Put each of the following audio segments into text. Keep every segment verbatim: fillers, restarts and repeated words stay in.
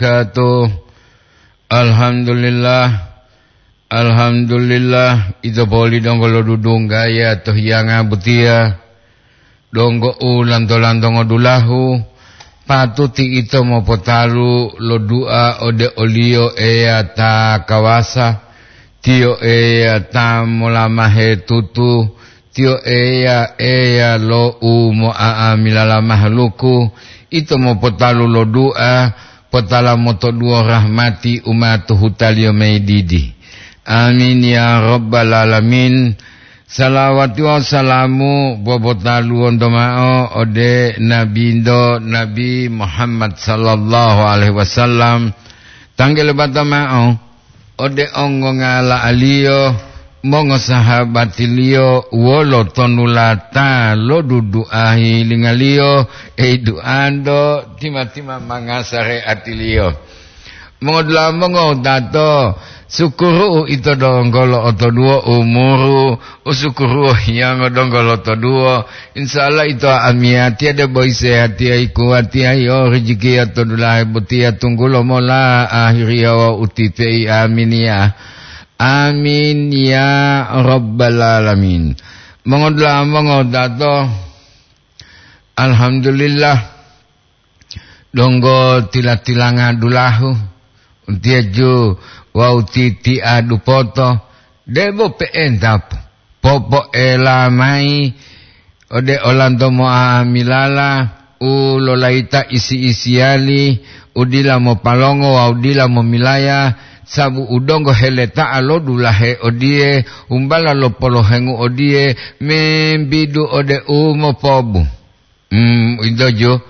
wabarakatuh. Alhamdulillah. Alhamdulillah, ito poli donggo lodudunggaya to hiyanga botiya. Donggo u lanto-lanto ngodulahu, patuti ito mopotalu lo dua ode o-Liyo Eya ta kawasa, Tiyo Eya ta molamahe tutu, Tiyo Eya, Eya lo u mo'a'amilala mahaluku, ito mopotalu lo dua, potala motoduwo rahmati u ma to hutaliyo mayi didi. Amin ya rabbal alamin. Salawati wawu salamu popotaluwonto ma'o ode Nabinto, Nabi Muhammad sallallahu alaihi wasallam. Tanggele bata ma'o ode ongongala'aliyo, mongosahabatiliyo wolo tonulata lo duduahi lingaliyo, ei duanto tima-tima mangasa reatiliyo. Mongodula'a mongowutato, sukuru'u ito donggo lo'otoduwo umuru, usukuru'u hiyongo donggo lotoduwo, Insya Allah ito amiyatiya debo isehatiya ikuwatiya yo rijikiya to dulahe botiya tunggulo mola ahiriya wawu utipe'i. Aminiya. Amin ya rabbal alamin. Mongodula'a mongodato. Alhamdulillah. Donggo tila-tilanga dulahu, utiyeju wawu titi'a dupoto, debo pe'enta popoela mayi ode olanto mo'amilala u lolayita isi-isiyali, u dila mopalongo wawu dila momilaya, sabu u donggo heleta'a lo dulahe odiye, humbala lo polohengu odiye, membidu ode u mopobu. Hmm, ito jo.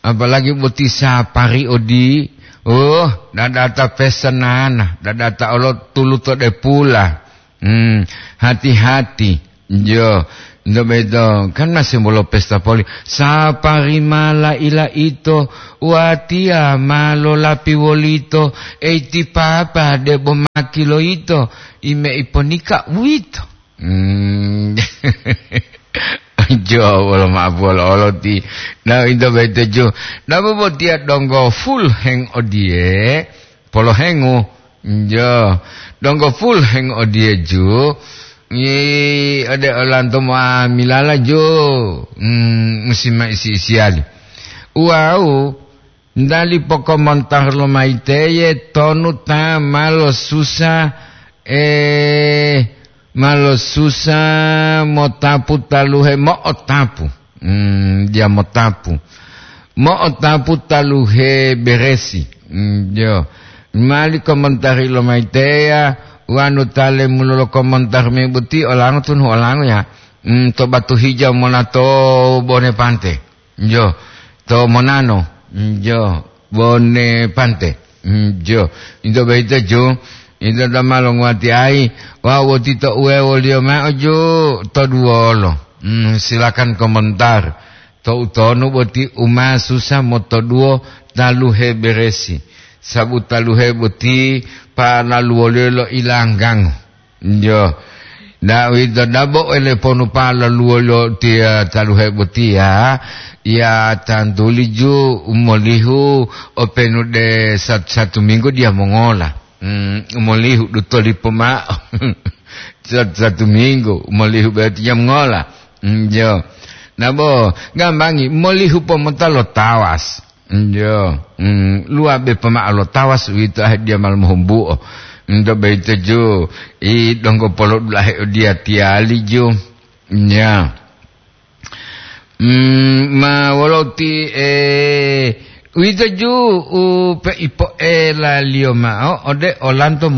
Apalagi boti sapari odi, oh, dadata pesenana, dadata olo tuluto de pula. Hmm, hati-hati. Jo, ito beto, kan masih bolo pesta poli. Sapari mala ila ito, watiya ma lolapi wolito, eiti papa debo maki lo ito, ime iponika uwito. Hmm. Jo, wolo ma'apu olo-olo ti. Na, into boyito ju. Nabo botiya donggo full heng odiye, polohengu. Jo, donggo full heng odiye ju. Ngi, ode olanto muamilala ju. Hmm, musi ma isi-isiyali. Wau, Ndali pokomontar lomayi teye tonu ta ma losusa, eh, ma losusa motapu taluhe mo'otapu. Hmm, dia motapu. Mo'otapu taluhe beresi. Hmm, jo. Mali komontari lomayi teya, wanu tale mulolo komontar me boti olango tunu olango ya. Hmm, to batu hijau mona to bone pante. Jo, to monano. Jo, bone pante. Jo, into boyito ju, into ta ma longuwatiayi, wawu wotito uwewoliyo mao ju to duwolo. Hmm, silakan komentar. To utonu boti u ma susa motoduwo taluhe beresi. Sabu taluhe boti palaluwoliyo lo ilanggango. Jo. Da'uwito dabo ele ponu palaluwoliyo tiya taluhe botiya, ya tantuli ju u molihu openu de satu-satu minggu diya mongola. Hmm, u molihu duto lipo ma'o. Satu-satu minggu u molihu berarti diya mongola. Hmm, jo. Nabo, gambangi, molihu pomota lo tawas. Njo, mm, luwabe pomao lo tawas uwito ahe diya ma lomohumbuo. Nto boyito ju, i donggo polodulahe odiyatiyali ju. Nya. Mm, ma woloti, eh, uwito ju u peipoelaliyo mao ode olanto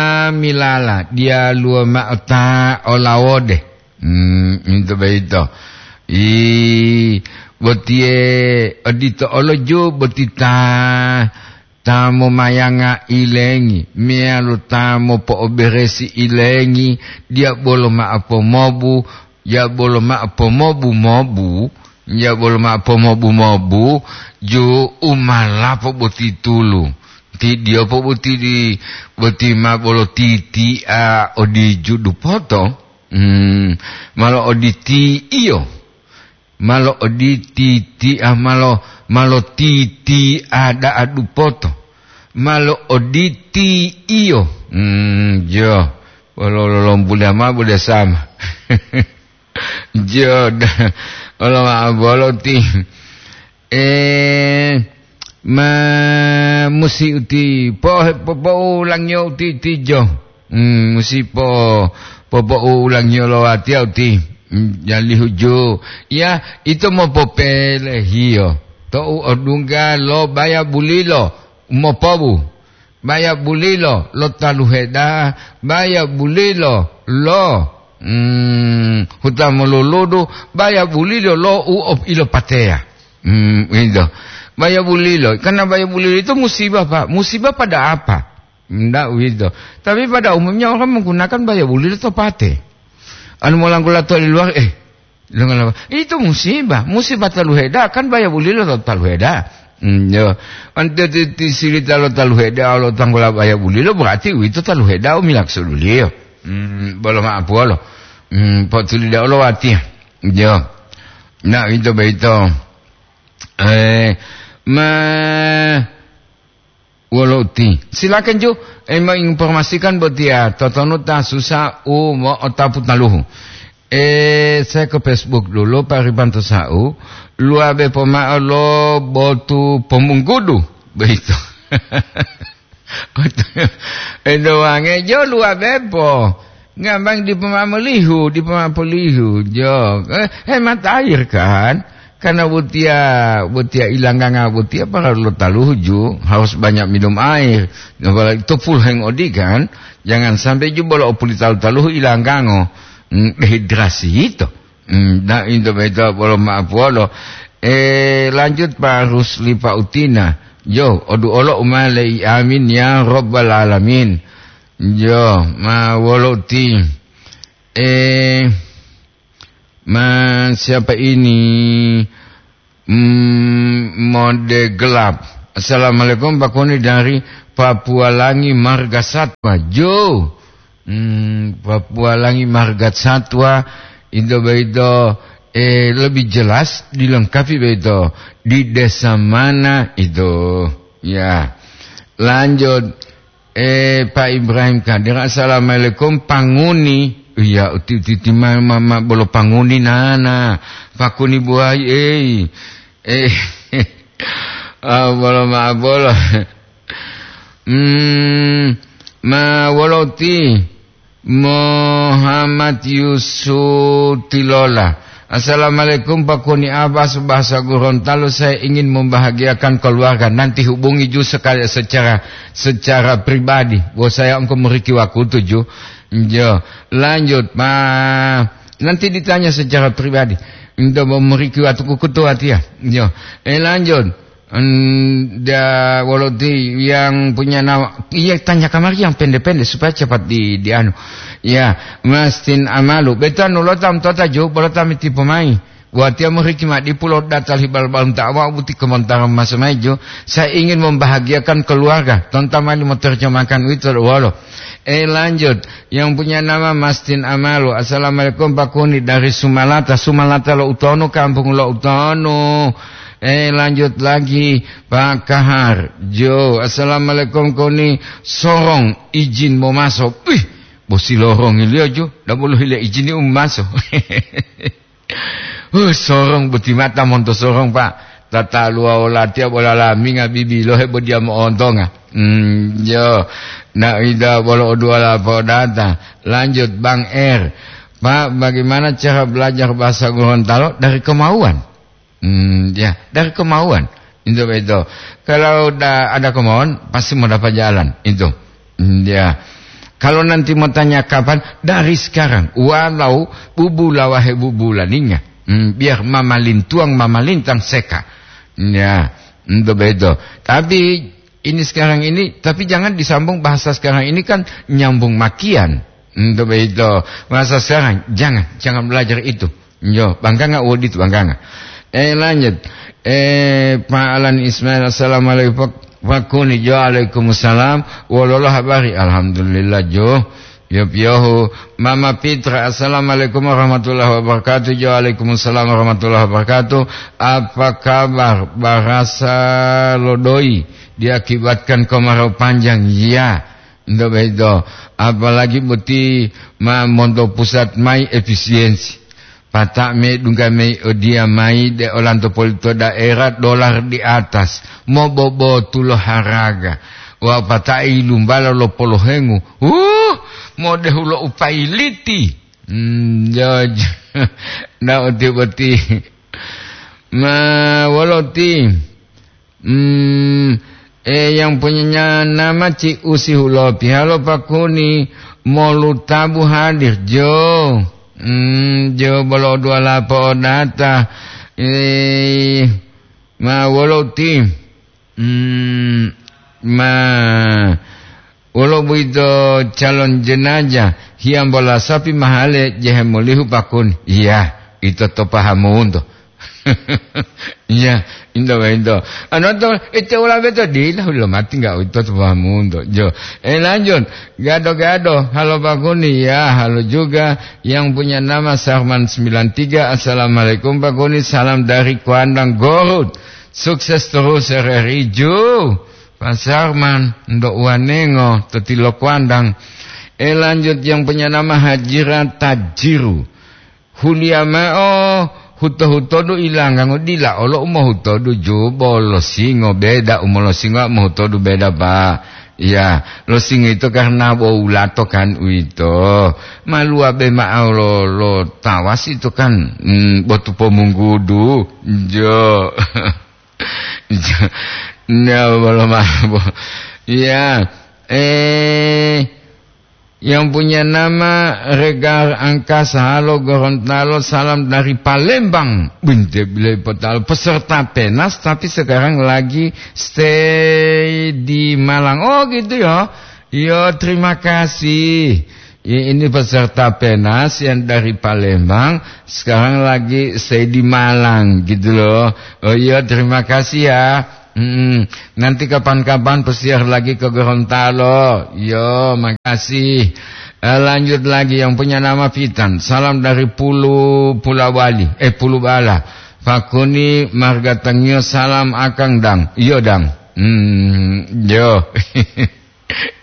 mo'a'amilala diyaluwo mao ta olawode. Hmm, into boyito. I, botiye odito olo ju boti ta, ta momayanga ilengi, meyalo ta mopo'oberesi ilengi, diya bolo ma'o pomobu, diya bolo ma'o pomobu-mobu, diya bolo ma'o pomobu-mobu, ju umalapo boti tulu. Ti diyopo boti di, boti ma bolo titi'a odi ju dupoto. Hmm, malo oditi iyo. malo oditi tia, malo, malo titia da'a dupoto, malo oditi iyo. Hmm, jo, wolo lolombula ma bude sama. Jo, da-, wolo ma bolo ti. Eh, ma musi uti po, po, poulangiyo uti tijo. Hmm, musi po, po, poulangiyo lo watiya uti. Hmm, jalihu ju. Ya, ito mopopelehiyo. To'u odungga lo baya bulilo, mopobu. Baya bulilo lo taluhe da'a, baya bulilo lo, hmm, huta moluludu, baya bulilo lo u op-, ilopateya. Hmm, itu. Baya bulilo, karena baya bulilo itu musibah, Pak. Musibah pada apa? Ndak begitu. Tapi pada umumnya orang menggunakan baya bulilo to pate. Anu molangkula to di luar, eh, Longola-, itu musibah. Musibah taluhe da'a, kan baya bulilo to taluhe da'a. Hmm, yo. Ante ti, ti sirita lo taluhe da'a, lo tanggola baya bulilo, berarti uwito taluhe da'a, u milaksuduliyo. Hmm, bolo ma'apuwolo. Hmm, potuli da'a lo watiya. Yo. Nah, itu begitu. Eh, ma-, Wolo uti. Silakan ju, eh, menginformasikan botiya, totonu ta susa u mo'otapu taluhu. Eh, saya ke Facebook dulu, Pak Ribanto Sau. Luabe pomao lo botu pomunggudu. Begitu. Itu wange jo luabe po. Ngambang dipo ma'o molihu, dipo ma'o polihu, jo. Eh, hemat air kan? Karena botiya, botiya ilangganga botiya paralu lo taluhu ju, harus banyak minum air. Apalagi to full hang odi kan? Jangan sampai ju bolo opuli talu-taluhu ilanggango. Hmm, dehidrasi itu. Hmm, nah, itu beto bolo ma'apuwolo. Eh, lanjut Pak Rusli Pak Utina. Jo, odu olo umale i amin ya Rabbal Alamin. Jo, ma wolo uti. Eh, ma siapa ini? Hmm, mode gelap. Assalamualaikum, Pak Koni dari Papua Langi Marga Satwa. Jo. Hmm, Papua Langi Marga Satwa. Itu begitu, eh, lebih jelas dilengkapi begitu. Di desa mana itu? Ya. Lanjut. Eh, Pak Ibrahim Kadir, assalamualaikum, Panguni. Iya, uti, uti, uti, ma, ma, ma, bolo Panguni nana. Pakuni buai, eh. Eh, ah, bolo, ma, bolo. Hmm, ma, wolo uti. Muhammad Yusuf Tilola. Assalamualaikum, Pak Kuni Abbas, bahasa Gorontalo, saya ingin membahagiakan keluarga. Nanti hubungi ju sekali secara, secara pribadi. Bo saya engko meriki wakutu ju. Jo, lanjut, Pak. Nanti ditanya secara pribadi. Untuk meriki waktu kukutu hati ya. Jo. Eh, lanjut. Hmm, da, wolo ti yang punya nama, iya, tanya kamari yang pendek-pendek supaya cepat di, di anu. Ya, Mastin Amalu. Beto anu lota mtota ju, bolota mitipo mai. Buat yang meriki ma di pulau datar hibal balum tak awak buti komentar mas mai ju. Saya ingin membahagiakan keluarga. Tonton mali mau terjemahkan itu wolo. Eh, lanjut. Yang punya nama Mastin Amalu. Assalamualaikum, Pak Kuni dari Sumalata. Sumalata lo utonu, kampung lo utonu. Eh, lanjut lagi, Pak Kahar. Jo, assalamualaikum, Koni. Sorong, izin mau masuk. Wih, bosi lorong ilio jo. Dah bolo hile izin ni um masuk. Huh, sorong boti mata monto sorong, Pak. Tata luwa olatiya bola laminga bibilohe bo diya mo'ontonga. Hmm, jo. Na ida bolo oduwala podata. Lanjut, Bang Er. Pak, bagaimana cara belajar bahasa Gorontalo dari kemauan? Hmm, ya, dari kemauan. Itu betul. Kalau da-, ada kemauan, pasti mau dapat jalan. Itu. Hmm, ya. Kalau nanti mau tanya kapan, dari sekarang. Walau bubula wahe bubulaninga. Hmm, biar mamalintuang, mamalintang seka. Ya, itu betul. Tapi ini sekarang ini, tapi jangan disambung bahasa sekarang ini kan nyambung makian. Itu begitu. Bahasa sekarang, jangan, jangan belajar itu. Yo, bangkanga wodit bangkanga. Eh, lanjut. Eh, Pak Alan Ismail, assalamualaikum, Pak, Pak Kuni. Jo, waalaikumsalam. Wololo habari? Alhamdulillah, jo. Piyo-piyohu, Mama Pitra, "Assalamualaikum warahmatullahi wabarakatuh." Jo, "Waalaikumsalam warahmatullahi wabarakatuh. Apa kabar? Barasa lo doi diakibatkan kemarau panjang." Iya, ndo begitu. Apalagi boti ma monto pusat mai efisiensi. Pata medungga mei odiya mayi de olanto poli to daerah dolar di atas, mobobotu lo haraga. Wawu pata'i lumbala lo polohengu, huh, modehu lo upayiliti. Hmm, jo, jo. Na uti boti. Ma wolo ti? Hmm, eh, yang punya nama Ci Usi Hulopi. Halo Pak Kuni, molu tabu hadir, jo. Hmm, jo bolo dua lapo odata. Eh, ma wolo ti? Hmm, ma wolo boyito calon jenazah, hiyambola sapi mahale jehe molihu Pak Kuni. Iya, ito to pahamunto. Iya, into, into. Anu to, ite ula beto dila, ulo mati enggak itu tuh pahamu untuk. Jo. Eh, lanjut. Gado-gado, halo Pak Kuni, ya, halo juga yang punya nama Sarman sembilan tiga. Assalamualaikum Pak Kuni, salam dari Kuandang Gorut. Sukses terus R R I Ju. Pak Sarman, ndo uwanengo, totilo Kuandang. Eh, lanjut yang punya nama Hajira Tajiru. Huliya mao huto-hutodu ilanggango dila olo u mohutodu jubo lo singo beda u molosingo mohutodu beda, Pak. Iya, lo singo ito karena bo wulato kan uwito. Maluwa be mao lo, lo tawasi ito kan, mm, botu pomunggudu. Jo. Jo. Nda bolo mabo. Iya. Eh, yang punya nama Regar Angkasa, halo Gorontalo, salam dari Palembang. Binte bilai potalo peserta penas, tapi sekarang lagi stay di Malang. Oh, gitu ya. Yo, terima kasih. I-, ini peserta penas yang dari Palembang, sekarang lagi stay di Malang, gitu loh. Oh iya, terima kasih ya. Mm-mm. Nanti kapan-kapan pesiar lagi ke Gorontalo. Yo, makasih. Eh, lanjut lagi yang punya nama Pitan. Salam dari Pulu Pulawali, eh, Pulubala. Pakuni marga Tangio, salam akang dang. Iyo dang. Hmm, yo.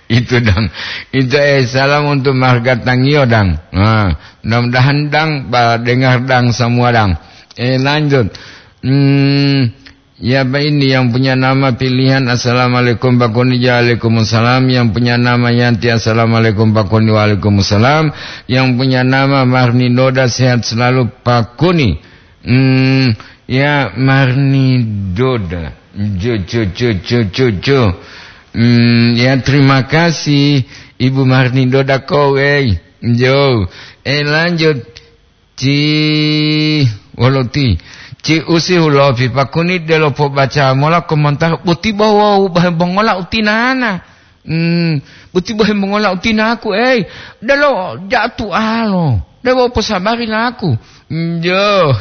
Itu dang. Itu, eh, salam untuk marga Tangio dang. Nah, mudah-mudahan dang, ba, dengar dang semua dang. Eh, lanjut. Hmm, ya, Pak, ini yang punya nama pilihan. Assalamualaikum, Pak Kuni. Waalaikumsalam. Yang punya nama Yanti. Assalamualaikum, Pak Kuni. Waalaikumsalam. Yang punya nama Marni Noda. Sehat selalu, Pak Kuni. Hmm, ya, Marni Doda. Jo, jo, jo, jo, jo, jo. Hmm, ya, terima kasih, Ibu Marni Doda Kowei. Jo. Eh, lanjut. Ci, wolo ti. Ci Usi Hulopi, Pak Kuni delo pobaca mola komentar, boti bo wawu bahe bongola utinana. Hmm, boti bo hemongola utinaku, ei, delo jatualo, debo posabari laku. Njo.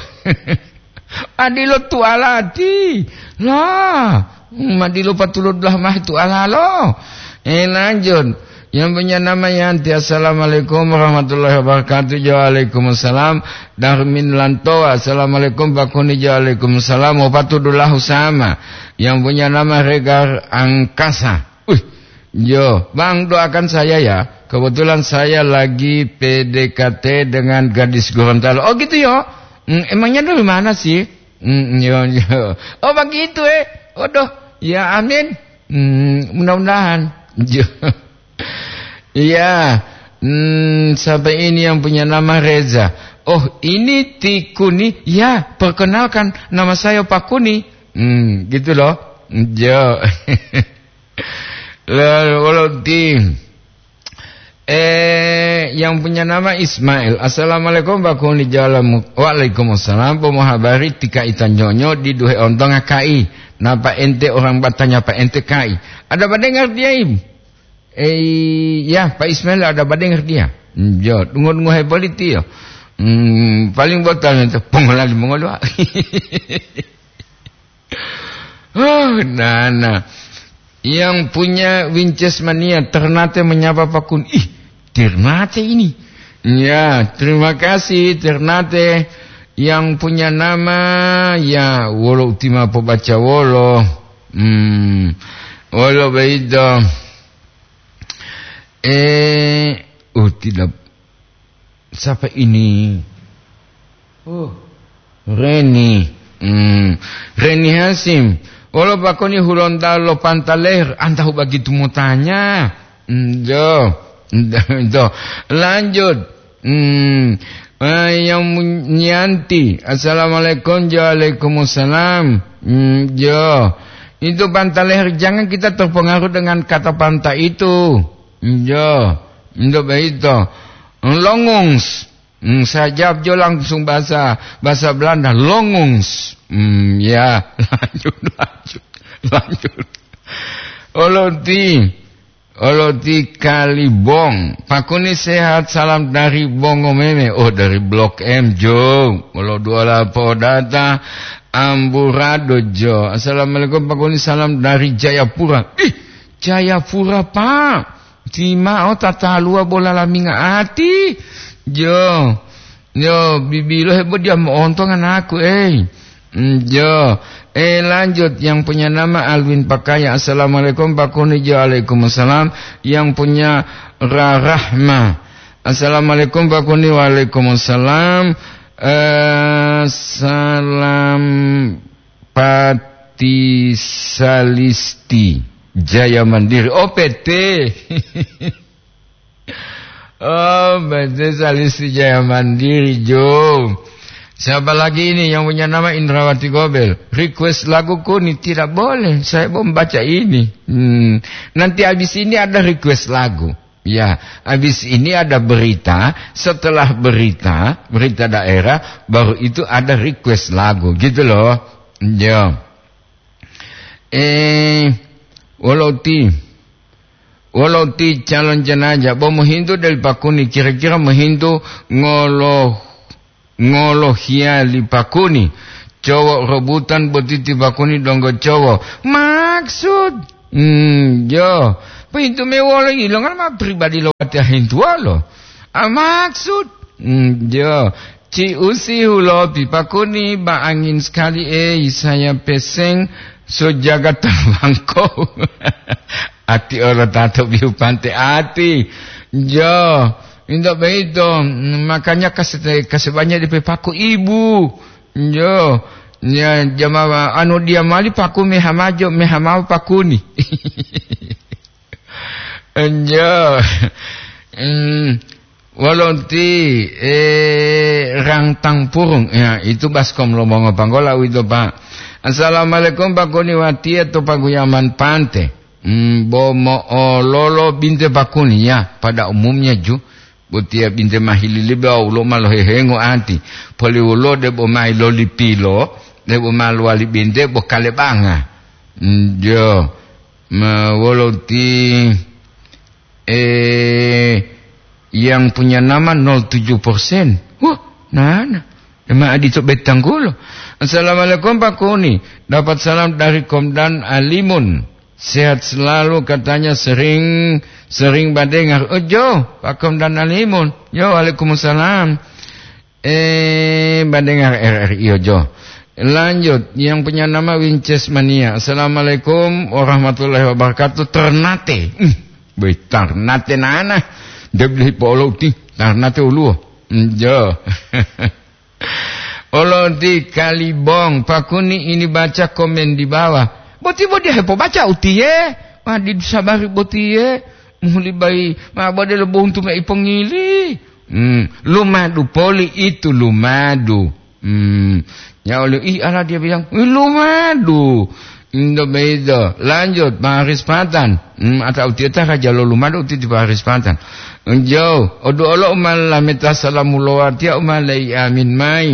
Adilo tualati. La, hmm, adilo patulodulah mahi tualalo. Eh, lanjut. Yang punya nama Yanti, assalamualaikum warahmatullahi wabarakatuh. Waalaikumsalam. Darmin Lantoa, assalamualaikum Pak Kuni. Waalaikumsalam. Wapatudulahu sama. Yang punya nama Regar Angkasa. Wih, yo, Bang, doakan saya ya. Kebetulan saya lagi P D K T dengan gadis Gorontalo. Oh, gitu, yo? Hmm, emangnya dari mana sih? Hmm, yo, yo. Oh, begitu, eh. Waduh, ya, amin. Hmm, mudah-mudahan. Yo. Iya. Hmm, siapa ini yang punya nama Reza? Oh, ini Tikuni. Ya, perkenalkan, nama saya Pak Kuni. Hmm, gitu loh. Yo. Lalu, wolo ti, eh, yang punya nama Ismail. Assalamualaikum, Pak Kuni, jalan mu-, waalaikumsalam. Pomo habari tika ita nyonyo di duhe ontonga kai. Napa ente orang batanya Pak ente kai? Ada badengar dia, Im? Eh, ya, Pak Ismail ada badengar dia. Hmm, yo, dungo-dungo heboliti yo. Hmm, paling botal itu pengolahan mengolwa. Oh, nana. Yang punya Winches Mania, ternate menyapa Pak Kuni. Ih, Ternate ini. Ya, terima kasih Ternate yang punya nama, ya, wolo uti ma pobaca wolo. Hmm, wolo beito. Eh, oh, tidak. Siapa ini? Oh, Reni. Hmm, Reni Hasim. Wolo pakoni hulonta lo Pantaleher, antahu begitu mutanya. Hmm, jo. Jo. Lanjut. Hmm, eh, yang mun-, Nyanti. Assalamualaikum, jo, waalaikumsalam. Hmm, jo. Itu Pantaleher, jangan kita terpengaruh dengan kata Panta itu. Jo. Untuk begitu. Longungs. Hmm, saya jawab jo langsung bahasa, bahasa Belanda, longungs. Hmm, ya, lanjut, lanjut, lanjut. Oloti, Oloti Kalibong. Pakuni sehat, salam dari Bongo Meme. Oh, dari Blok M, Jo. Olo dua lapo data, Amburado, Jo. Assalamualaikum, Pakuni, salam dari Jayapura. Ih, Jayapura, Pak. Timao tataluwa bola laminga ati. Jo. Jo, bibilo hebo dia mo'onto nganaku, ei. Mm, jo. Eh, lanjut. Yang punya nama Alwin Pakaya. Assalamualaikum, Pakuni, Jo. Waalaikumsalam. Yang punya Rarahma. Assalamualaikum, Pakuni. Waalaikumsalam. Eh, salam Pati Salisti Jaya Mandiri. Oh, P T. Oh, P T Salisti Jaya Mandiri, Jo. Siapa lagi ini yang punya nama Indrawati Gobel? Request lagu Kuni tidak boleh. Saya mau membaca ini. Hmm. Nanti habis ini ada request lagu. Ya, habis ini ada berita. Setelah berita, berita daerah, baru itu ada request lagu. Gitu loh. Ya. Eh, wolo uti, wolo uti calon jenajah, bo mohintu deli Pakuni, kira-kira mohintu ngolo, ngolohiya li Pakuni. Cowo robutan boti ti Pakuni donggo cowo. Maksud, hmm, jo. Pohintu me wolo ilongan ma pribadi lo watiya hintuwolo. Ah, maksud, hmm, jo. Ci usi hulopi Pakuni, ba angin sekali, eh, saya peseng so jaga tabangko. Ati olo tato biu pante ati. Jo, indak begitu. Makanya kasih, kasih banyak di pepaku ibu. Jo, ya, jamawa, anu dia mali paku mehamajo, mehamau Pakuni. Jo. Hmm. Wolo uti, eh, Rangtang Purung. Ya, itu baskom lo mongo panggola uwito, Pak. Assalamualaikum, Pakuni, watiya to paguyaman pante. Hmm, bo mo'ololo binte Pakuni, ya, pada umumnya ju. Botiya binte mahililibe wawu lo ma lohehengo ati. Poli wolo debo ma ilolipilo, debo ma lowali binte bo kalebanga. Hmm, jo. Ma wolo uti, eh, yang punya nama nol tujuh persen. Wah, nana. Emang adito betanggulo. Assalamualaikum, Pakuni. Dapat salam dari Komdan Alimun. Sehat selalu, katanya sering, sering badengar. Oh, jo, Pak Komdan Alimun. Yo, waalaikumsalam. Eh, badengar R R I, yo, jo. Lanjut, yang punya nama Winces Mania. Assalamualaikum warahmatullahi wabarakatuh. Ternate. Hmm, boy, Ternate nana. Dia beli polo uti. Ternate uluo. Hmm, jo. Olo di Kalibong, Pakuni ini baca komen di bawah. Boti bo dia hepobaca utiye, ma di sabari botiye, muhuli bai, ma bode lo bontu me ipongili. Hmm, lumadu poli itu lumadu. Hmm, ya oleh, ih, ala dia bilang, "Wih, lumadu." Indo beido, lanjut, Paris Patan. Hmm, ata utiye ta raja lo lumadu uti di Paris Patan. Jauh, odu olo umal lameta salamu lowatiya umal lei amin mai.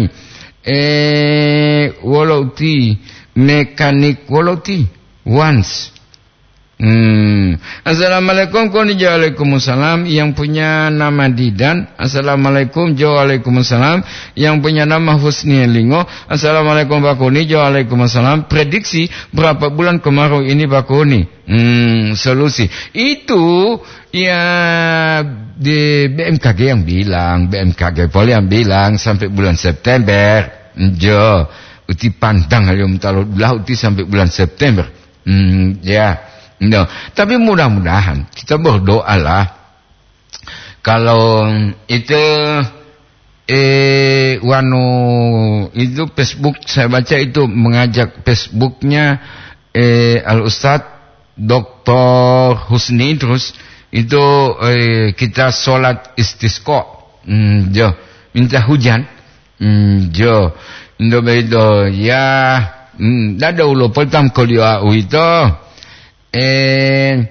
Eh, wolo uti, mekanik wolo uti, once. Hmm, Assalamualaikum, Koni, jo, waalaikumsalam. Yang punya nama Didan. Assalamualaikum, jo, waalaikumsalam. Yang punya nama Husni Lingo. Assalamualaikum, Pak Koni, jo, waalaikumsalam. Prediksi berapa bulan kemarau ini, Pak Koni? Hmm, solusi. Itu, ya, di B M K G yang bilang, B M K G poli yang bilang sampai bulan September. Jo, uti pantang ayo mentalo belah uti sampai bulan September. Hmm, ya. No. Tapi mudah-mudahan kita berdoalah. Kalau itu, eh, wanu itu Facebook, saya baca itu mengajak Facebooknya, eh, Al Ustadz Doktor Husni terus itu, eh, kita sholat istisqa. Hmm, jo. Minta hujan. Hmm, jo. Ndo bedo ya. Hmm, dada ulo poltam kolio uito. Eh,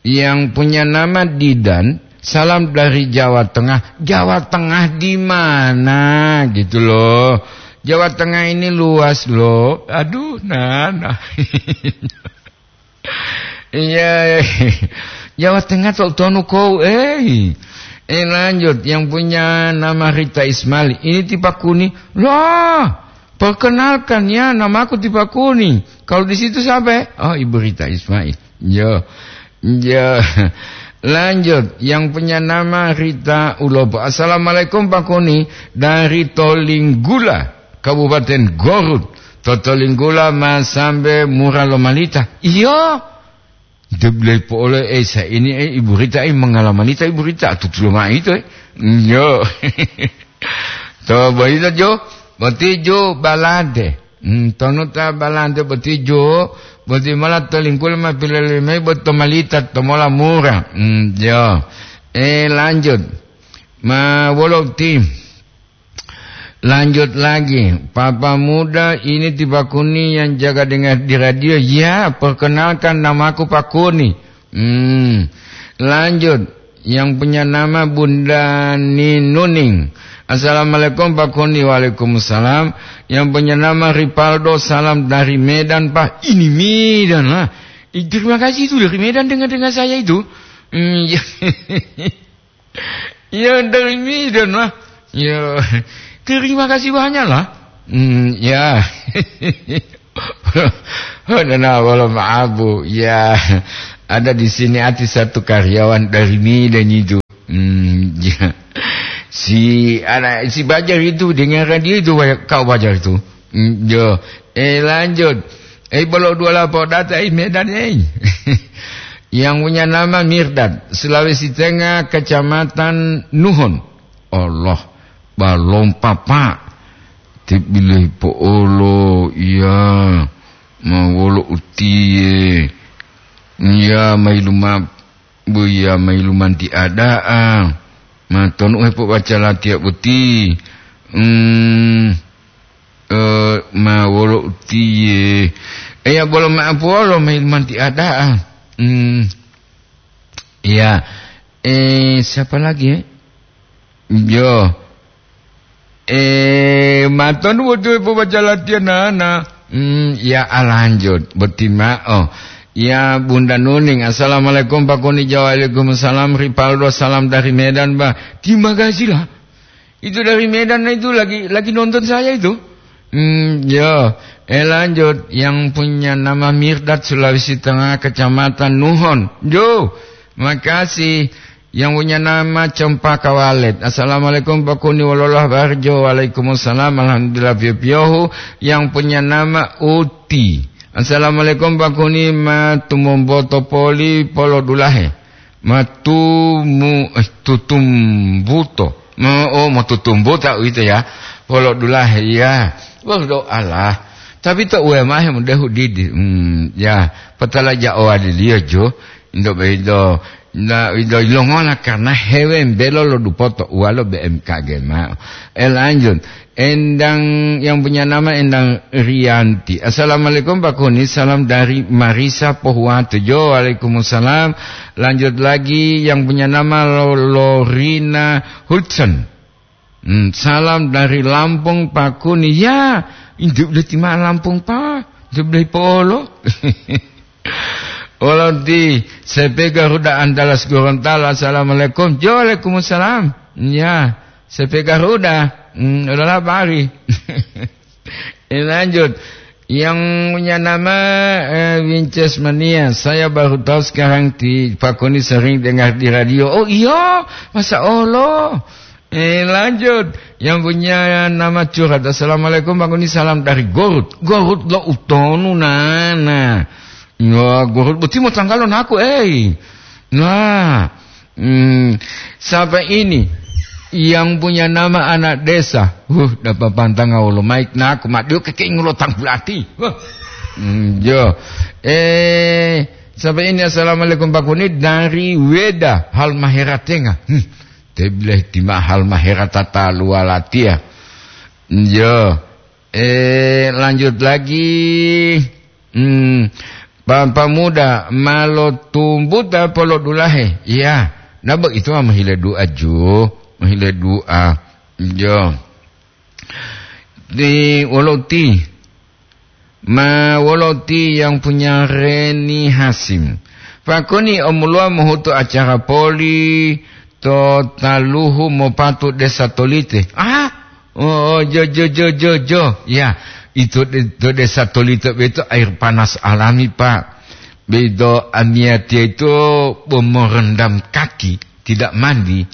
yang punya nama Didan, salam dari Jawa Tengah. Jawa Tengah di mana gitu loh? Jawa Tengah ini luas loh. Aduh, nah, nah. Iya, Jawa Tengah to tonu kau, eh. Eh, lanjut, yang punya nama Rita Ismail. Ini Tipakuni. Lah, perkenalkan ya, namaku Tipakuni. Kalau di situ siapa? Oh, Ibu Rita Ismail. Yo. Ya, lanjut. Yang punya nama Rita Ulopo. Assalamualaikum, Pak Koni, dari Tolinggula, Kabupaten Garut. To Tolinggula ma sambe mura lomalita. Iyo. Deblei po'olo, eh, sa ini, eh, Ibu Rita, eh, mangalamanita Ibu Rita, tutulo ma'o ito, eh. Iyo. To boyito jo, boti jo balante. Hmm, tonu ta balante boti jo, boti mala Tolinggula ma pilolimo mayi boti to malita to mola mura. Hmm, jo. Eh, lanjut. Ma wolo ti. Lanjut lagi. Papa muda ini Tipakuni yang jaga dengar di radio. Ya, perkenalkan namaku Pakuni. Hmm. Lanjut. Yang punya nama Bunda Ninuning. Assalamualaikum, Pak Koni. Waalaikumsalam. Yang punya nama Ripaldo, salam dari Medan, Pak. Ini Medan lah. Eh, terima kasih itu dari Medan, dengar-dengar saya itu. Hmm, ya. Ya, dari Medan lah. Ya, terima kasih banyak lah. Hmm, ya. Nah, wala ma'abu. Ya, ada di sini ati satu karyawan dari Medan itu. Hmm, ya. Si anak si Bajar itu dengan radio itu, kau Bajar itu. Hmm, ya. Eh, lanjut. Eh, bolo dua lapor data, eh, Medan, eh. Yang punya nama Mirdad, Sulawesi Tengah, Kecamatan Nuhon. Allah, balom papa. Tibilih po'olo, iya. Ma wolo utiye. Iya, mailu ma-, bu iya, mailu manti ada'a. Ma tonu hepo baca latiya boti. Hmm, eh, ma wolo utiye. Iya, bolo ma'apu wolo mailu manti ada'a. Hmm, iya. Eh, siapa lagi, eh? Yo. Eh, matonu botu pobaca latihan nana. Hmm, ya, ah, lanjut. Boti ma'o. Ya, Bunda Nuning. Assalamualaikum, Pak Koni. Waalaikumsalam, Ripaldo. Salam dari Medan, Bah. Terima kasih lah. Itu dari Medan itu lagi, lagi nonton saya itu. Hmm, yo. Eh, lanjut. Yang punya nama Mirdad, Sulawesi Tengah, Kecamatan Nuhon. Yo. Makasih. Yang punya nama Cempaka Walet. Assalamualaikum, Pak Kuni, wololah Barjo. Waalaikumsalam. Alhamdulillah, piyo-piyohu. Yang punya nama Uti. Assalamualaikum, Pak Kuni, ma tumomboto poli polodulahe. Ma tumu-, eh, tutumbuto. Ma, oh, ma tutumbuta uwito ya. Polodulahe, ya. Berdoalah. Tapi to uwe mahe mudahu didi. Hmm, ya. Patala ja owadiliyo jo. Indo beido. Na, indo ilongola karena hewe mbelo lo dupoto uwalo B M K G ma'o. Eh, lanjut. Endang yang punya nama Endang Rianti. Assalamualaikum, Pak Kuni. Salam dari Marisa Pohuwato. Jo, waalaikumsalam. Lanjut lagi yang punya nama Lo-, Lorina Hudson. Hmm, salam dari Lampung, Pak Kuni. Ya, indu udah tima Lampung, Pak. Indu udah polo. Wolo ti, sepe Garuda Andalas Gorontalo, assalamualaikum. Jo, waalaikumsalam. Ya, sepe Garuda, mm, udah labari. Eh, lanjut. Yang punya nama, eh, Winces Mania. Saya baru tahu sekarang, ti Pakuni sering dengar di radio. Oh iya, masa Allah. Eh, lanjut. Yang punya nama Curhat. Assalamualaikum, Pakuni, salam dari Gorut. Gorut lo utonu, nana. Ya, Gorut boti mo tanggalo naku, eh. Nah, hmm, siapa ini yang punya nama anak desa? Huh, dapat pantanga wolo maik naku, madio keke ngulo tanggulati. Huh. Hmm, jo. Eh, siapa ini? Assalamualaikum, Pakuni, dari Weda, Halmahera Tengah. Hmm. Tebileh tima Halmahera tata luwalatia. Yo. Eh, lanjut lagi. Hmm. Papa muda, malo tumbuta polo dulahe. Iya. Nabo itu mah mahile dua ju. Mahile dua. Yo. Di wolo ti. Ma wolo ti yang punya Reni Hasim. Pakoni omuluwa mohutu acara poli to taluhu mopatu Desa Tolite. Ah, oh, jo, jo, jo, jo, jo. Ya, itu de-, to Desa Tolite beto air panas alami, Pak. Beto amiatia itu bo merendam kaki, tidak mandi.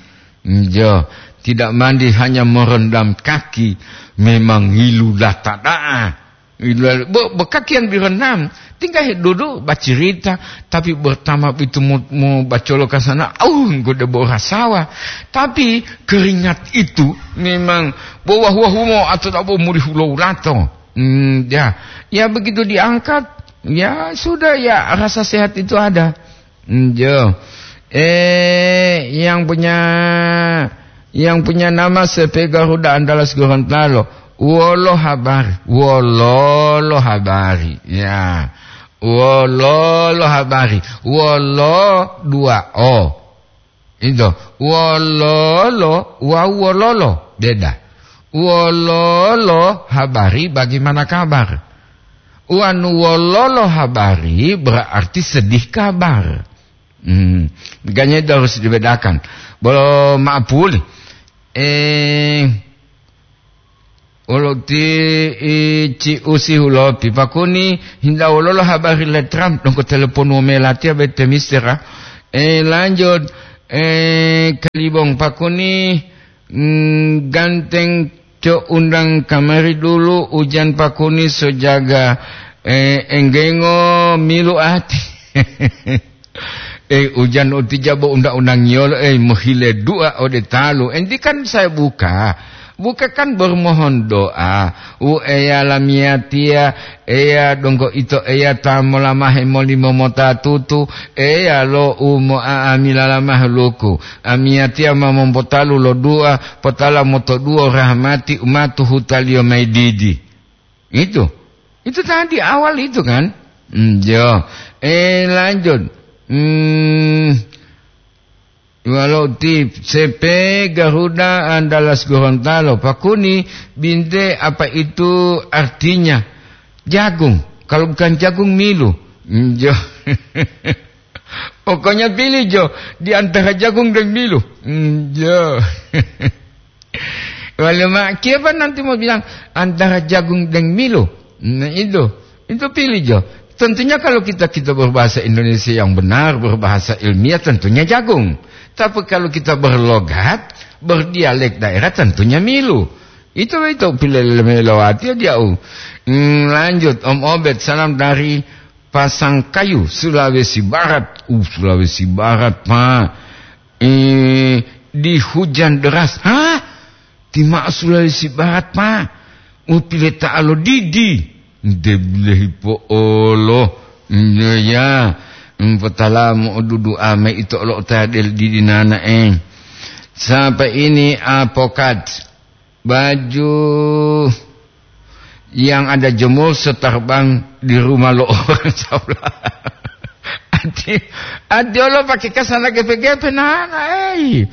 Jo, tidak mandi, hanya merendam kaki. Memang ngilu lata da'a. Bo, bo kakian bironam, tinggal dudu bacirita, tapi bertama itu mu, mu bacolo ka sana, au, enggo debo rasawa. Tapi keringat itu memang bo wahu-wahu mo atau tak bo muri hulou lato. Hmm, ya. Ya begitu diangkat, ya sudah ya rasa sehat itu ada. Njo. Eh, yang punya, yang punya nama sepe Garuda Andalas Gorontalo. Wolo habari, wololo habari. Ya. Wololo habari. Wolo dua O. Itu. Wololo wawu wololo. Beda. Wololo habari, bagaimana kabar? Wanu wololo habari berarti sedih kabar. Hmm, makanya itu harus dibedakan. Bolo maapuli. Eh, wolo ti, i, ci usi hulopi. Pakuni, hinda wololo habari le Trump, dongko telepon womela tia bete mistera. Eh, lanjut. Eh, Kalibong Pakuni, mm, ganteng co undang kamari dulu, ujan Pakuni sojaga, eh, enggengo milu ati. Eh, ujan utija bo undang-undangiyolo, eh, mohile dua ode talu. Enti kan saya buka. Buka kan bermohon doa. U Eya lamiyatiya, Eya donggo ito Eya ta molamahe molimo mota tutu, Eya lo u mo'a'amila lamahe luku. Amiyatiya ma mompotalu lo dua, potala motoduwo rahmati u ma tuhutaliyo mayi didi. Itu. Itu tadi awal itu kan? Hmm, jo. Eh, lanjut. Hmm, walau ti sepe Garuda Andalas Gorontalo, Pakuni, binte apa itu artinya? Jagung. Kalau bukan jagung, milu. Hmm, jo. Pokoknya pilih, jo, di antara jagung dan milu. Hmm, jo. Wale ma, kiapa nanti mau bilang antara jagung dan milu? Nah, itu. Itu pilih, jo. Tentunya kalau kita, kita berbahasa Indonesia yang benar, berbahasa ilmiah, tentunya jagung. Tapi kalau kita berlogat, berdialek daerah, tentunya milu. Itu, itu pilih melewati dia. Hmm, lanjut, Om Obed, salam dari Pasangkayu, Sulawesi Barat. Uh, Sulawesi Barat, Pak. Eh, di hujan deras. Hah? Ti ma'o Sulawesi Barat, Pak. U pileta'alo didi. Nde bilehi po'olo. Nde ya. Mpotalamu odudu ame ito olo otadel didi nanae. Sampai ini apokat. Baju yang ada jemur seterbang di rumah lo orang sebelah. Ati, ati olo pakai kasana gepe-gepe nana, ei.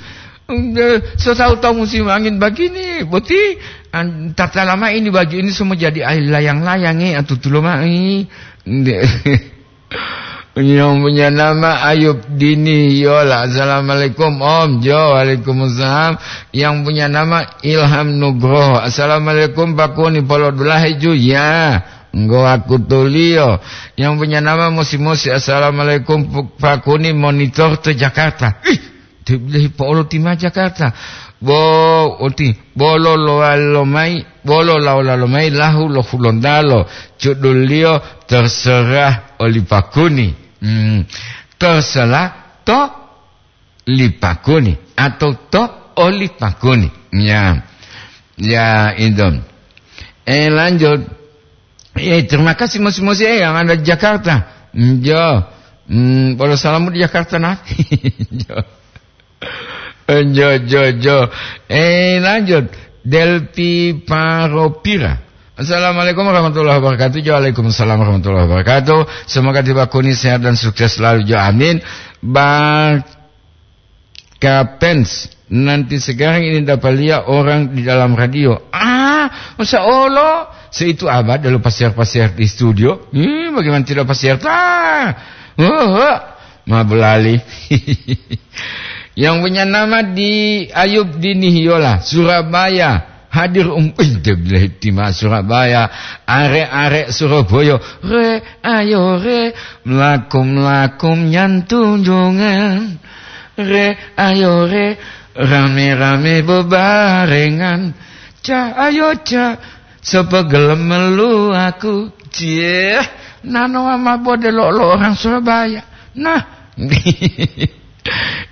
Nde, so tahu-tahu musim angin begini, boti, an-, tata lama ini baju ini semua jadi air layang-layang, eh, atutulo mai. Nde. Yang punya nama Ayub Dini Yola. Assalamualaikum, Om. Jo, waalaikumsalam. Yang punya nama Ilham Nugroho. Assalamualaikum, Pak Kuni, polo dulahe ju. Ya, nggo aku tulio. Yang punya nama Musi-Musi. Assalamualaikum, Pu-, Pak Kuni, monitor to Jakarta. Ih, tibilahi po'olo ti ma Jakarta. Bo, oti, bolo lowalo mayi, bolo lawolalo mayi lahu lo Hulontalo. Judulliyo Terserah oli Pak Kuni. Hmm. Terserah to li Pak Kuni atau to oli Pak Kuni. Ya. Ya, itu. Eh, lanjut. Eh, terima kasih, Musi-Musi, eh, yang ada di Jakarta. Jo. Hmm, polo salamu di Jakarta, nah. Jo. Jo, jo, jo. Eh, lanjut. Delpi Paropira. Assalamualaikum warahmatullahi wabarakatuh. Jo, waalaikumsalam warahmatullahi wabarakatuh. Semoga tiba Kuni sehat dan sukses selalu. Jo, amin. Bang Kapens, nanti sekarang ini dapat lihat orang di dalam radio. Ah, masa olo? Seitu abad dulu pasiar-pasiar di studio. Hmm, bagaimana tidak pasiar? Ah, oh, oh. Ma belali. Yang punya nama di Ayub Dini Yola, Surabaya. Hadir um, ih, dia bilang tima Surabaya. Arek-arek Surabaya. Re, ayo re, melakum-lakum nyantunjungan. Re, ayo re, rame-rame bebarengan. Ca, ayo ca, sepegelem melu aku. Cie, nano mama bode lo, lo orang Surabaya. Nah.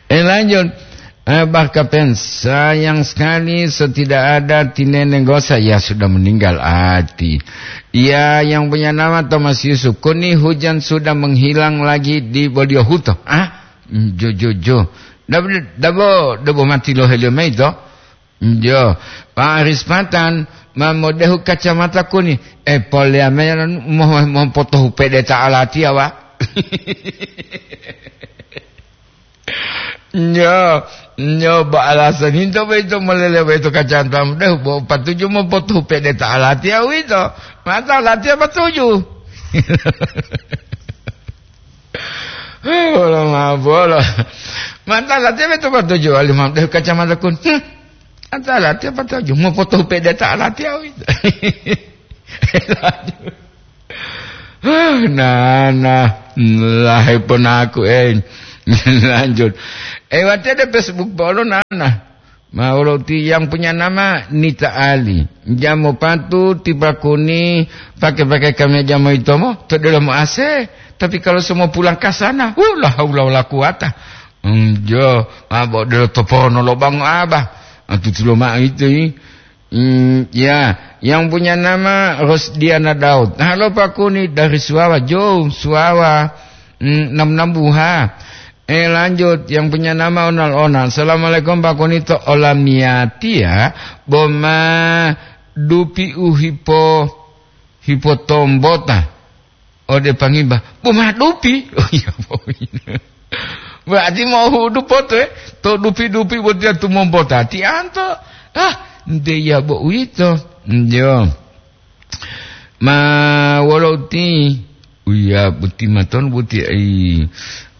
Eh, lanjut. Eh, Barkapen, sayang sekali, so tidak ada tinene gosa, ya sudah meninggal ati. Ya, yang punya nama Thomas Yusuf, Kuni hujan sudah menghilang lagi di Bodiohuto. Ah, jo, jo, jo. Dabo, dabo, dabo mati lo helio mayi to? Jo, Pak Aris Patan, ma modehu kacamata Kuni. Eh, polea me mo, mo potohu pede ta alatiya, wa. Nyo, nyo bo alasan hinto boyito molele boyito kacamatamu deh, bo patuju mopotu pede ta alatiya uwito. Mata alatiya patuju. Wolo mabolo. Mata alatiya beto patuju, alimam deh kacamata kun. Hmm. Mata alatiya patuju, mopotu pede ta alatiya uwito. Nah, nah, lahai ponaku, eh. Lanjut. Eh, wati ada Facebook polo, nah, nah. Ma wolo ti yang punya nama Nita Ali. Jamo patu tiba Kuni pakai-pakai kameja moitomo, to delomo A C. Tapi kalau semua pulang ke sana, uh, la haula wala quwata. Enjo, abo delo topono lo bango abah. Ah, tutulo mao itu, i. Hmm, ya, yang punya nama Rosdiana Daud. Halo, Pak Kuni, dari Suawa, jauh, Suawa. Hmm, nam-nam buha. Eh, lanjut, yang punya nama Onal-Onal. Assalamualaikum, Pak Kuni, to olamiyatia, boma dupi u hipo, hipotombota. Ode pangimba, "Bo ma dupi?" Oh, iya, bo. Berarti mohudu poto, eh? To dupi-dupi botiya tumombota tianto. Ah, nte iya bo uwito. Njo. Ma wolo uti? Uya, boti maton boti ai.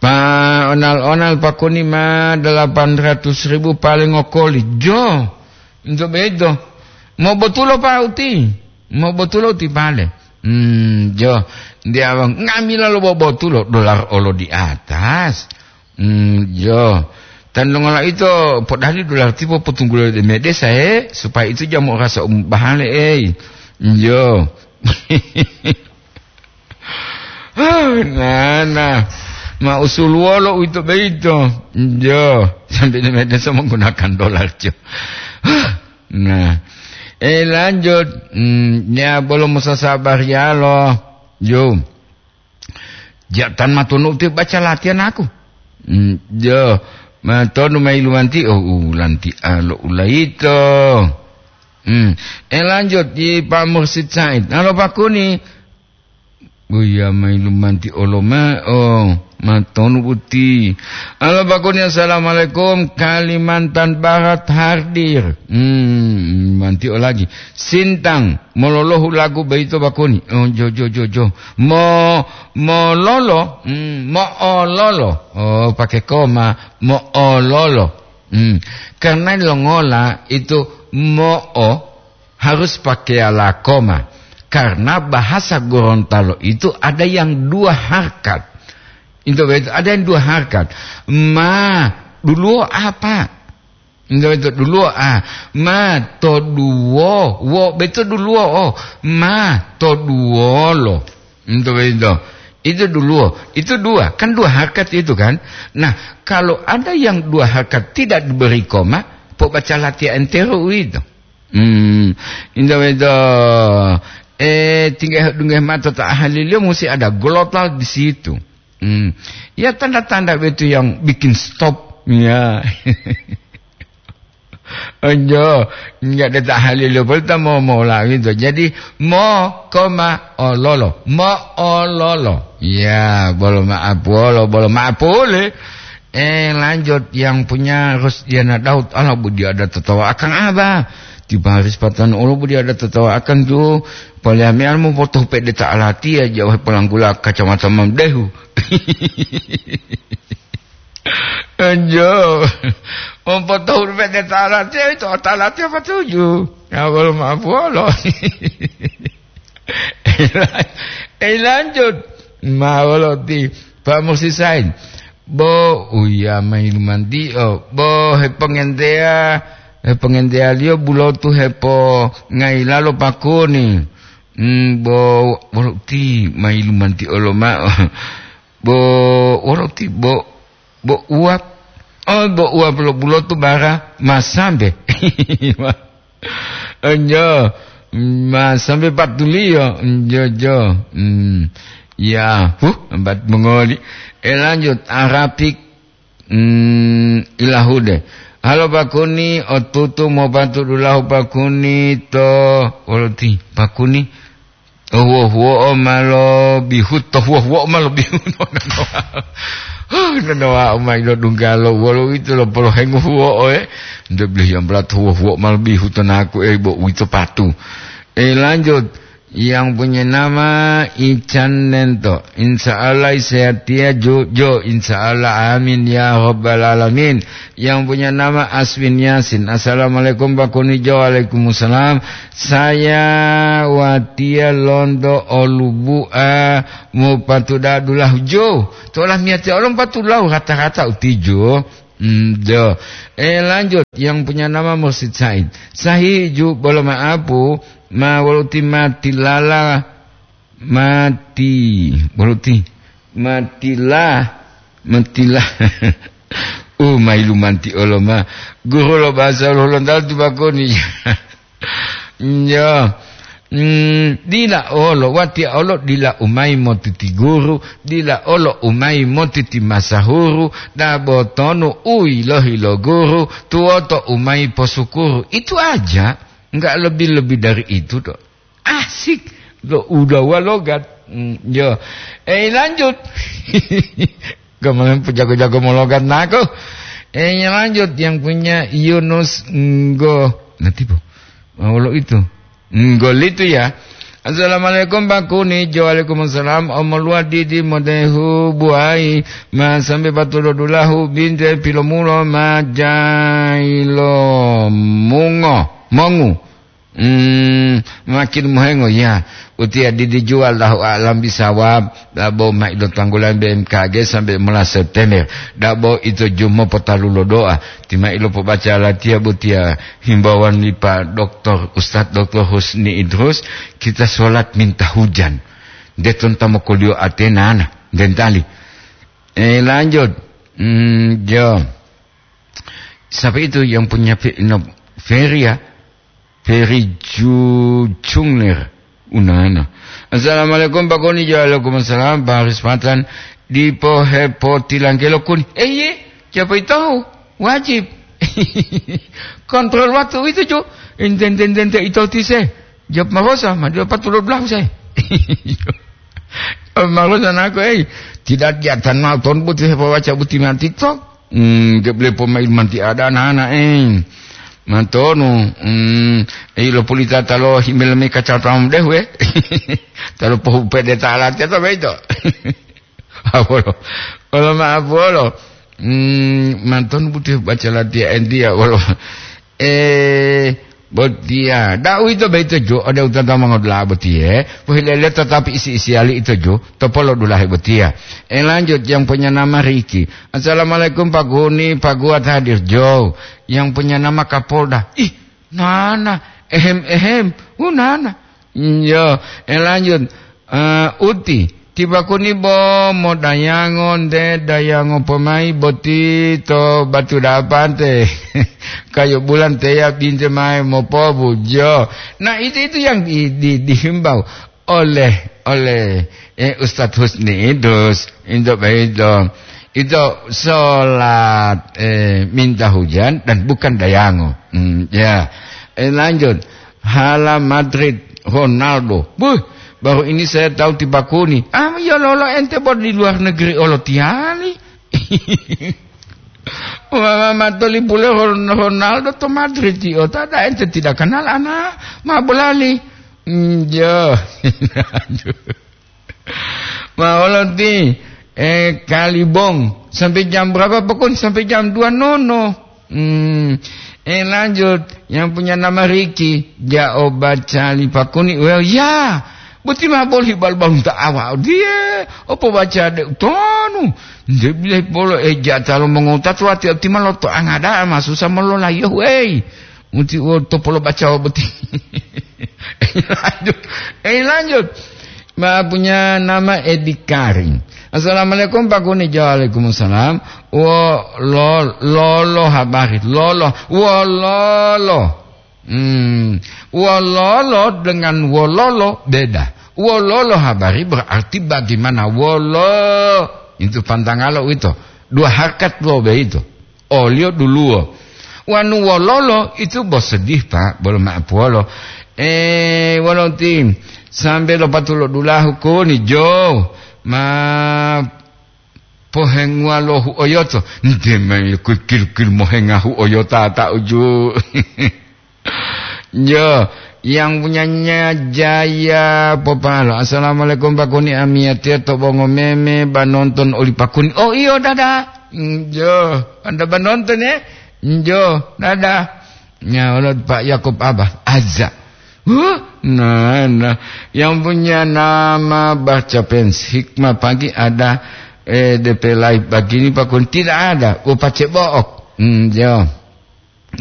Pa onal-onal pakoni ma delapan ratus ribu paling okoli. Jo. Nto beto. Mo botulo pa uti? Mo botulo uti pale. Hmm, jo. Dia ngamila lo bobotulo, dolar olo di atas. Hmm, jo. Tan longola ito podali dolar tipo potunggulo de medesa, he, supaya itu jamu rasa um bahale, ei. Jo. Nah, nah. Ma usul wolo uito beito. Jo. Sampai de medesa menggunakan dolar, jo. Nah. Eh, lanjut. Hmm, ya, belum sasabar ya lo. Jo. Ja tan matonu ti baca latihan aku. Hmm, jo. Matonu mai lumanti, oh, ulanti alo ulaito. Hmm. Eh, lanjut di Pak Mursid Said. Halo, Pak Kuni. Buya mai lumanti oloma, oh. Matonu buti. Halo, Pak Kuni, assalamualaikum. Kalimantan Barat hadir. Hmm, manti o lagi. Sintang, mololohu lagu beito, Pak Kuni. Oh, jo, jo, jo, jo. Mo, mololo, hmm, moololo. Oh, pakai koma, moololo. Hmm. Karena longola itu mo'o harus pakai ala koma. Karena bahasa Gorontalo itu ada yang dua harkat. Itu betul, ada yang dua harkat. Ma, duluo apa? Itu betul, duluo a. Ma, to duo. Wo, betul duluo o. Ma, to duolo. Itu betul. Itu duluo. Itu dua. Kan dua harkat itu kan. Nah, kalau ada yang dua harkat tidak diberi koma, pobaca latihan entero itu. Hmm, indah itu. Eh, tinggal dengar mata tak ahli dia mesti ada glotal di situ. Hmm. Ya, tanda-tanda itu yang bikin stop. Ya. Enjo, enggak ada tak ahli dia, boleh tak mau, mau lagi itu. Jadi, mo, koma, ololo. Mo, ololo. Ya, bolo maaf, bolo, bolo maaf, boleh. Eh, lanjut, yang punya Rusdiana Daud, Allah budi ada tertawa akan apa? Tiba hari sepatan, Allah budi ada tertawa akan tu, paling anu mau foto pede tak alati aja, wah, pelanggula kacamata mamdehu. Anjo, mau foto pede tak alati itu, tak alati apa tuju? Ya, kalau maaf, Allah. Eh, lanjut. Ma wolo ti Pak Mursi Said. Bo, uya mayi lumanti'o. Bo, hepongenteya, hepongenteya liyo bulotu hepo ngayilalo pakuni. Hmm, bo, wolo ti mayi lumanti'o loma'o. Bo, wolo ti bo, bo uwap. Oh, bo uwap lo bulotu bara masambe. Enjo, ma sambe patuliyo, enjo, jo. Hmm. Ya, huh, empat mongoli. Eh, lanjut, Arapik, hmm, ilahude. Halo, Pakuni, otutu mopatu dulahu Pakuni to, woloti, Pakuni. Oh, huwo-huwo'o ma lobihu, to huwo-huwo'o ma lobihu. Huh, nonowa'o ma ilodunggalo, wolo uwito lo polohengo huwo'o, eh. Nde belihi ambalatu huwo-huwo'o ma lobihu to naku, eh, bo uwito patu. Eh, lanjut. Yang punya nama Ican Nento. Insya Allah sehat ya, Jo. Jo, insya Allah. Amin ya rabbal alamin. Yang punya nama Aswin Yasin. Assalamualaikum, Pak Kunijo. Waalaikumsalam. Saya watiya lonto olubu'a mopatuda dulahu jo. Tola miyatiya olo mopatudulahu rata-rata utijo. Hmm, jo. Eh, lanjut. Yang punya nama Mursid Said. Sahih ju bolo ma'apu ma woluti matilala mati. Woluti matilah. Matilah. Uh, mailumanti oloma. Guru lo bahasa Lontalo tu bakoni. Nyo. Hmm, dila olo, watiya olo dila umai motiti guru, dila olo umai motiti masahuru, dabo tonu uilohi lo guru, tuwoto umai posukuru. Itu aja, enggak lebih-lebih dari itu, dok. Asik. Lo udawa logat. Hmm, yo. Eh, lanjut. Kemarin jago-jago mologat nako. Eh, yang lanjut, yang punya Yunus Nggo. Nanti, Bu. Oh, lo itu. Nggo itu ya. Assalamualaikum, Pak Kunijo. Waalaikumsalam. Omoluwa didi modehu buai. Ma sambe patulo dulahu binte pilomulo ma jailo mungo. Mongu. Hmm, makin mohengo, ya. Utiya didi jual, Allahu a'lam bisawab. Dabo ma ilo tanggulan B M K G sampai mola September. Dabo ito jumo potalu lo doa. Tima ilo pobaca latiya botiya himbauan li Pak Doktor, Ustadz Doktor Husni Idrus, kita sholat minta hujan. Deton tamo kolio atena ana, dentali. Eh, lanjut. Hmm, jo. Siapa itu yang punya fe-, no, Ferry ya? Ferry Ju-, Jungler. Unana. Assalamualaikum, Pak Koni. Waalaikumsalam, Pak Haris Patan. Dipo hepo tilangkelo kuni. Eh, ye, siapa itu? Wajib. Kontrol waktu itu, Ju. Enten, enten, enten, itu tise. Jawab marosa, ma dia patut belahu saya. Marusa nako, ei, tidak diatan mau ton buti hepawaca buti manti to. Hmm, geble poma ilmanti ada nana, eh. Mantonu, hmm, ei, lo pulita talo himel me kacatam deh, we. Talo pohu pede ta alati atau beito. Apolo. Olo ma apolo. Hmm, mantonu buti baca latihan dia, wolo. Eh, botiya. Da uwito boyito jo, ode utata mongodula'a botiye, pohilele tatapi isi-isiyali ito jo, to polodulahe botiya. Eh, lanjut, yang punya nama Riki. "Assalamualaikum, Pak Guni, Pak Guat hadir jo. Yang punya nama Kapolda." Ih, nana, ehem, ehem. Uh, nana. Iyo, eh, lanjut. Eh, uti, tibakuni bo modayango nte dayango pomai boti to batu dapante. Kayu bulan teya binte mae mopobu, jo. Nah, itu, itu yang di, di, dihimbau oleh, oleh, eh, Ustadz Husni Idrus. Itu begitu. Itu sholat, eh, minta hujan dan bukan dayango. Hmm, ya. Eh, lanjut. Hala Madrid, Ronaldo. Buh, baru ini saya tahu tibakuni. Ah, ya lolo ente bor di luar negeri olo tiali. Mama matoli pule Ron-, Ronaldo to Madrid, yo. Tada ente tidak kenal ana ma bolali. Hmm, ya. Ma olo ti, eh, kalibong. Sampai jam berapa, Pakun? Sampai jam dua nono. Hmm. Eh, lanjut. Yang punya nama Riki. Jao baca li Pakuni. Well, ya. Boti ma boli bal-balunta awa dia. Opo baca de utonu. Nde bilai polo, eh, jatalo mongota tuwati otima loto angada ma susah mololayo, wei. Muti wo topolo bacawa boti. Lanjut. Eh, lanjut. Ma punya nama Edi Karim. "Assalamualaikum, Pak Kuni." Waalaikumsalam. Wo lo-, lolo habari. Lolo. Wololo. Hmm. Wololo dengan wololo beda. Wololo habari berarti bagaimana wolo. Itu pantangalo itu. Dua harkat lo begitu. Oliyo duluwo. Wanu wololo itu bo sedih, Pak, bolo ma'apuwolo. Eh, wolo ti, sambe lo patulo dulahu kuni jo, ma pohenguwa lo huoyoto. Nte me kil-kil mohenga huoyota ta uju. Jo, yang punyanya Jaya Popalo. "Assalamualaikum, Pak Kuni, amiyatiya to bongo meme ba nonton oli Pak Kuni." Oh, iyo, dada. Njo, anda ba nonton, ya? Njo, dada. Nya, olo Pak Yakub Abah, aza. Huh? Nah, nah. Yang punya nama baca pens, hikmah pagi ada, eh, D P live begini, Pak Kuni. Tidak ada. Oh, pace book. Njo.